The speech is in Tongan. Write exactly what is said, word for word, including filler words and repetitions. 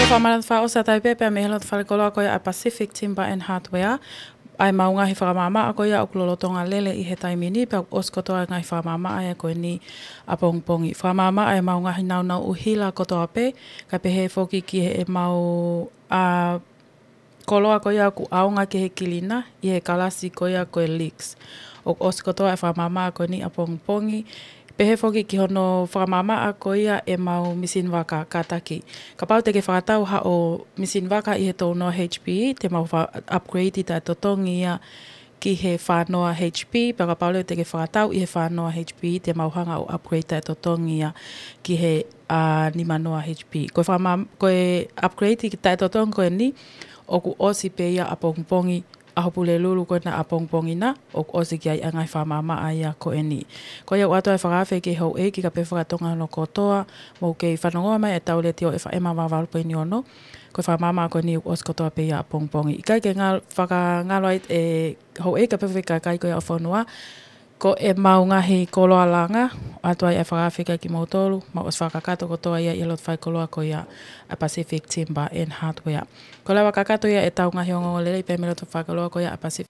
Fakamanatu fakaʻosi atu ai pē pea mei he loto fale koloa ko ia ʻa Pacific Timber and Hardware, ʻa e mau ngaahi fakamaʻamaʻa ko ia ʻoku lolotonga lele ʻi he taimi ni, pea ʻoku ʻosi kotoa e ngaahi fakamaʻamaʻa ia ko eni ʻapongipongi. Fakamaʻamaʻa e mau ngaahi naunau ʻuhila kotoa pē, kae pehē foki ki he mau, ʻa, koloa ko ia ʻoku ʻaonga ki he kilina ʻi he kalasi ko ia ko e Lex. ʻOku ʻosi kotoa e fakamaʻamaʻa ko eni ʻapongipongi. Pehē foki ki hono fakamaʻamaʻa ko ia e mau misini vaka kātaki. Kapau te ke fakatau haʻo misini vaka ʻi he tolu noa H P, te mau fa-, upgrade taʻetotongi ia ki he fā noa H P, pea kapau leva te ke fakatau ʻi he fā noa H P, te mau hanga ʻo upgrade taʻetotongi ia ki he, ʻa, nima noa H P. Ko e fakama-, ko e upgrade taʻetotongi ko eni, ʻoku ʻosi pē ia ʻapongipongi, ʻaho Pulelulu ko ena ʻapongipongi na, ʻoku ʻosi ki ai ʻa e ngaahi fakamaʻamaʻa ia ko eni. Ko ia ʻoku ʻoatu ai e fakaafe ki he houʻeiki kae pehē fakatonga hono kotoa, mou kei fanongoa mai ʻetau Letiō F M valu valu poini ono, ko e fakamaʻamaʻa ko eni ʻoku ʻosi kotoa pē ia ʻapongipongi. ʻIkai ke ngal-, fakangalo ai e houʻeiki kae pehē fakakai ko ia ʻo e fonua, ko e mau ngaahi koloa langa, ʻoatu ai e fakaafe ki ai kimoutolu, mau ʻosi fakakakato kotoa ia ʻi he loto fale koloa ko ia ʻa Pacific Timber and Hardware. Ko e lava kakato ia ʻetau ngaahi ongoongolelei pea mei he loto fale koloa ko ia ʻa Pacific